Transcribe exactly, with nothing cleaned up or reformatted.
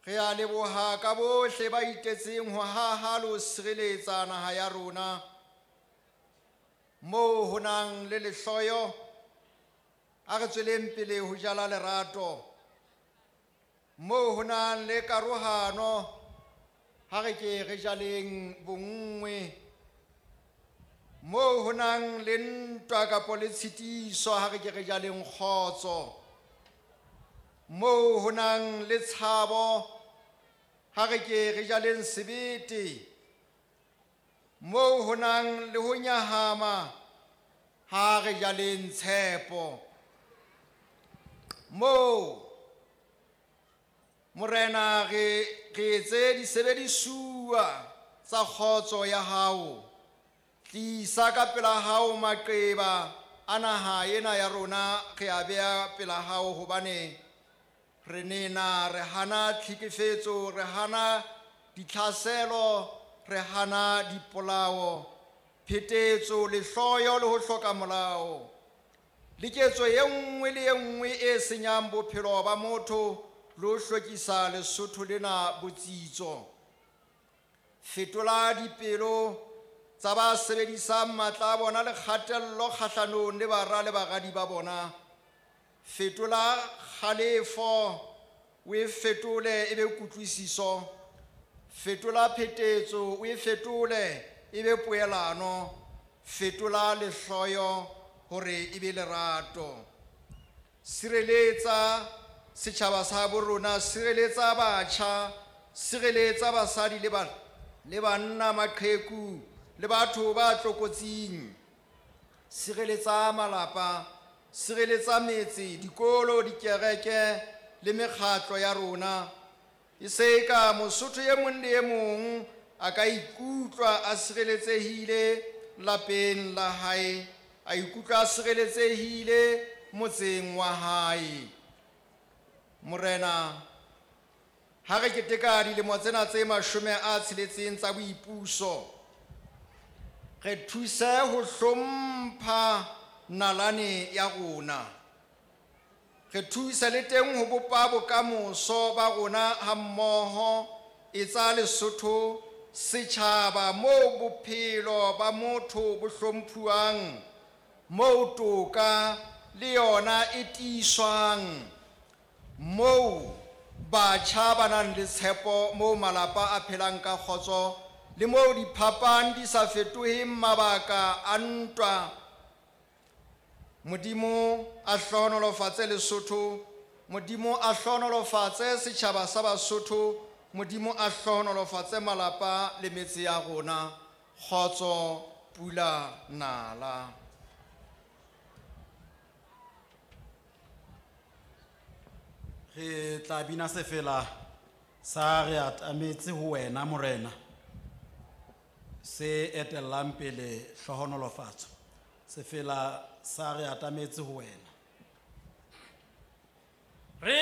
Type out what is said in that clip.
Re a leboha ka bohle ba itetseng ho haha le ho sireletsa naha ya rona. Moo ho nang le lehloyo, a re tsweleng pele ho jala lerato. Moo ho nang le karohano, ha re ke re jaleng bonngwe. Moo ho nang le ntwa kapa le tshitiso, ha re ke re jaleng kgotso. Moo ho nang le tshabo, ha re ke re jaleng sebete. Moo ho nang le ho nyahama, ha re jaleng tshepo. Moo Morena re re etse disebedisuwa tsa kgotso ya hao. Tlisa ka pela hao maqeba a naha ena ya rona, re a beha pela hao, hobane re nena re hana tlhekefetso, re hana ditlhaselo, re hana dipolao, phetetso, lehloyo le ho hloka molao. Le ketso e nngwe le e nngwe e senyang bophelo ba motho le ho hlokisa Lesotho lena botsitso. Fetola dipelo tsa ba sebedisang matla a bona le kgatello kgahlanong le bara le baradi ba bona. Fetola kgalefo, o e fetole e be kutlwisiso. Fetola phetetso, o e fetole e be poelano. Fetola lehloyo hore e be lerato. Sireletsa setjhaba sa bo rona, sireletsa batjha, sireletsa basadi le ba, le banna, maqheku le batho ba tlokotsing. Sireletsa malapa, sireletsa metse, dikolo, dikereke le mekgatlo ya rona. E se ka Mosotho e mong le e mong a ka ikutlwa a sireletsehile lapeng la hae, a ikutlwa a sireletsehile motseng wa hae. Morena, ha re keteka dilemo tsena tse mashome a tsheletseng tsa boipuso, re thuse ho hlompha nalane ya rona. Re thuse le teng ho bopa bokamoso ba rona hammoho. Etsa Lesotho setjhaba moo bophelo ba motho bo hlomphuwang, moo toka le yona e tiiswang, moo batjha ba nang le tshepo, moo malapa a phelang ka kgotso le moo diphapang di sa fetoheng mabaka a ntwa. Modimo a hlohonolofatse Lesotho, Modimo a hlohonolofatse setjhaba sa Basotho, Modimo a hlohonolofatse malapa le metse ya rona. Kgotso, pula, nala. Re tla bina sefela sa re atametse ho wena Morena, se etellang pele hlohonolofatso. Sefela sa re atametse ho wena. Re